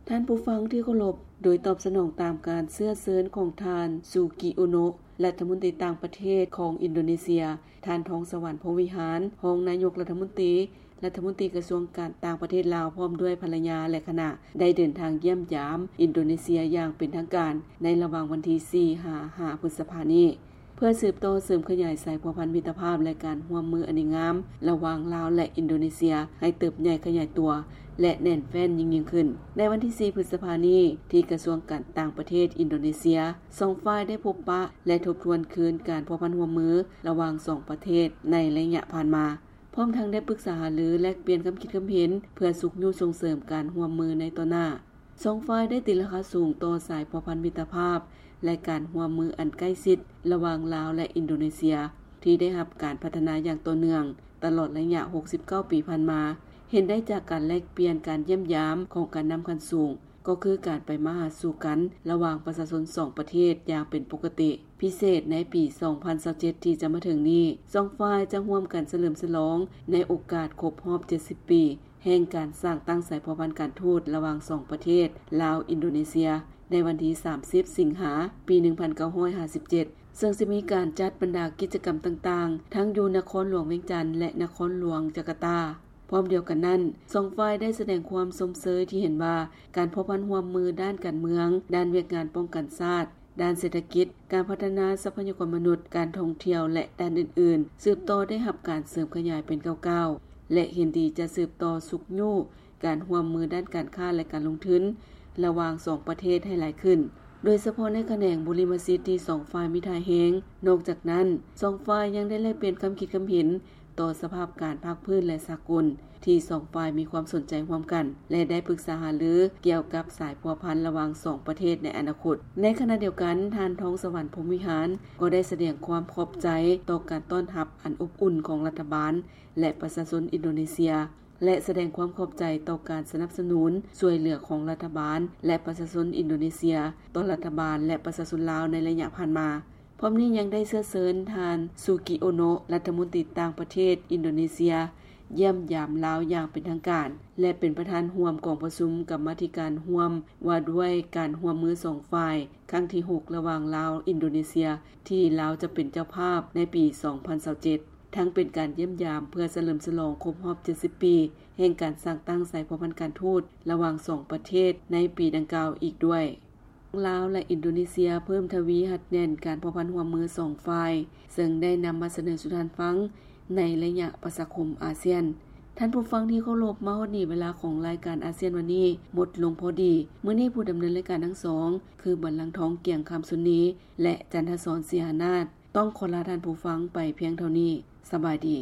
ທ່ານຜູ້ຟັງທີ່ເຄົາລົບ, ໂດຍຕອບສະໜອງຕາມການເຊື້ອເຊີນຂອງທ່ານ ຊູກິ ໂອໂນ ລັດຖະມົນຕີຕ່າງປະເທດຂອງອິນໂດເນເຊຍ, ທ່ານ ທອງສະຫວັນ ພົມວິຫານ ຮອງນາຍົກລັດຖະມົນຕີ, ລັດຖະມົນຕີກະຊວງການຕ່າງປະເທດລາວ ພ້ອມດ້ວຍພັນລະຍາ ແລະ ຄະນະ ໄດ້ເດີນທາງຢ້ຽມຢາມອິນໂດເນເຊຍຢ່າງເປັນທາງການ ໃນລະຫວ່າງວັນທີສີ່ ຫາ ຫ້າ ພຶດສະພານີ້. ເພື່ອສືບຕໍ່ເສີມຂະຫຍາຍສາຍພົວພັນມິດຕະພາບ ແລະ ການຮ່ວມມືອັນດີງາມລະຫວ່າງລາວ ແລະ ອິນໂດເນເຊຍ ໃຫ້ເຕີບໃຫຍ່ຂະຫຍາຍຕົວ ແລະ ແໜ້ນແຟ້ນຍິ່ງໆຂຶ້ນ. ໃນວັນທີສີ່ ພຶດສະພານີ້ ທີ່ກະຊວງການຕ່າງປະເທດອິນໂດເນເຊຍ, ສອງຝ່າຍໄດ້ພົບປະ ແລະ ທົບທວນຄືນການພົວພັນຮ່ວມມືລະຫວ່າງສອງປະເທດໃນໄລຍະຜ່ານມາ, ພ້ອມທັງໄດ້ປຶກສາຫາລື ແລກປ່ຽນຄຳຄິດຄຳເຫັນ ເພື່ອຊຸກຍູ້ສົ່ງເສີມການຮ່ວມມືໃນຕໍ່ໜ້າ. ສອງຝ່າຍໄດ້ຕີລາຄາສູງຕໍ່ສາຍພົວພັນມິດຕະພາບ ແລະ ການຮ່ວມມືອັນໃກ້ຊິດລະຫວ່າງລາວ ແລະ ອິນໂດເນເຊຍ ທີ່ໄດ້ຮັບການພັດທະນາຢ່າງຕໍ່ເນື່ອງຕະຫຼອດໄລຍະຫົກສິບເກົ້າປີຜ່ານມາ, ເຫັນໄດ້ຈາກການແລກປ່ຽນການຢ້ຽມຢາມຂອງການນຳຂັ້ນສູງ, ກໍຄືການໄປມາຫາສູ່ກັນລະຫວ່າງປະຊາຊົນສອງປະເທດຢ່າງເປັນປົກກະຕິ. ພິເສດໃນປີສອງພັນຊາວເຈັດທີ່ຈະມາເຖິງນີ້, ສອງຝ່າຍຈະຮ່ວມກັນສະເຫຼີມສະຫຼອງໃນໂອກາດຄົບຮອບເຈັດສິບປີ ແຫ່ງການສ້າງຕັ້ງສາຍພົວພັນການທູດລະຫວ່າງສອງປະເທດ ລາວ-ອິນໂດເນເຊຍ ໃນວັນທີສາມສິບ ສິງຫາ ປີໜຶ່ງພັນເກົ້າຮ້ອຍຫ້າສິບເຈັດ ເຊິ່ງຈະມີການຈັດບັນດາກິດຈະກຳຕ່າງໆ ທັງຢູ່ນະຄອນຫຼວງວຽງຈັນ ແລະ ນະຄອນຫຼວງຈາກາຕາ. ພ້ອມດຽວກັນນັ້ນ, ສອງຝ່າຍໄດ້ສະແດງຄວາມຊົມເຊີຍທີ່ເຫັນວ່າ ການພົວພັນຮ່ວມມືດ້ານການເມືອງ, ດ້ານວຽກງານປ້ອງກັນຊາດ, ດ້ານເສດຖະກິດ, ການພັດທະນາຊັບພະຍາກອນມະນຸດ, ການທ່ອງທ່ຽວ ແລະ ດ້ານອື່ນໆ ສືບຕໍ່ໄດ້ຮັບການເສີມຂະຫຍາຍເປັນກ້າວໆ ແລະ ເຫັນດີຈະສືບຕໍ່ຊຸກຍູ້ການຮ່ວມມືດ້ານການຄ້າ ແລະ ການລົງທຶນລະຫວ່າງສອງປະເທດໃຫ້ຫຼາຍຂຶ້ນ, ໂດຍສະເພາະໃນຂະແໜງບຸລິມະສິດທີ່ສອງຝ່າຍມີທ່າແຮງ. ນອກຈາກນັ້ນ, ສອງຝ່າຍຍັງໄດ້ແລກປ່ຽນຄຳຄິດຄຳເຫັນ ຕໍ່ສະພາບການພາກພື້ນ ແລະ ສາກົນ ທີ່ສອງຝ່າຍມີຄວາມສົນໃຈຮ່ວມກັນ ແລະ ໄດ້ປຶກສາຫາລືກ່ຽວກັບສາຍພົວພັນລະຫວ່າງສອງປະເທດໃນອະນາຄົດ. ໃນຂະນະດຽວກັນ, ທ່ານ ທອງສະຫວັນ ພົມວິຫານ ກໍໄດ້ສະແດງຄວາມຂອບໃຈຕໍ່ການຕ້ອນຮັບອັນອົບອຸ່ນຂອງລັດຖະບານ ແລະ ປະຊາຊົນອິນໂດເນເຊຍ ແລະ ສະແດງຄວາມຂອບໃຈຕໍ່ການສະໜັບສະໜູນຊ່ວຍເຫຼືອຂອງລັດຖະບານ ແລະ ປະຊາຊົນອິນໂດເນເຊຍ ຕໍ່ລັດຖະບານ ແລະ ປະຊາຊົນລາວໃນໄລຍະຜ່ານມາ. ພ້ອມນີ້ຍັງໄດ້ເຊື້ອເຊີນທ່ານ ຊູກິ ໂອໂນ ລັດຖະມົນຕີຕ່າງປະເທດອິນໂດເນເຊຍ ຢ້ຽມຢາມລາວຢ່າງເປັນທາງການ ແລະ ເປັນປະທານຮ່ວມກອງປະຊຸມກຳມາທິການຮ່ວມວ່າດ້ວຍການຮ່ວມມືສອງຝ່າຍ ຄັ້ງທີຫົກ ລະຫວ່າງລາວ-ອິນໂດເນເຊຍ ທີ່ລາວຈະເປັນເຈົ້າພາບໃນປີສອງພັນຊາວເຈັດ ທັງເປັນການຢ້ຽມຢາມເພື່ອສະເຫຼີມສະຫຼອງຄົບຮອບເຈັດສິບປີ ແຫ່ງການສ້າງຕັ້ງສາຍພົວພັນການທູດລະຫວ່າງສອງປະເທດໃນປີດັ່ງກ່າວອີກດ້ວຍ. ລາວ ແລະ ອິນໂດເນເຊຍເພີ່ມທະວີຮັດແໜ້ນການພົວພັນຮ່ວມມືສອງຝ່າຍ, ເຊິ່ງໄດ້ນຳມາສະເໜີສູ່ທ່ານຟັງໃນໄລຍະປະຊາຄົມອາຊຽນ. ທ່ານຜູ້ຟັງທີ່ເຄົາລົບ, ມາຮອດນີ້ເວລາຂອງລາຍການອາຊຽນວັນນີ້ໝົດລົງພໍດີ. ມື້ນີ້ຜູ້ດຳເນີນລາຍການທັງສອງ ຄື ບັນລັງທອງ ກຽງຄຳຊຸນນີ ແລະ ຈັນທະສອນ ສີຫານາດ ຕ້ອງຂໍລາທ່ານຜູ້ຟັງໄປພຽງເທົ່ານີ້. ສະບາຍດີ.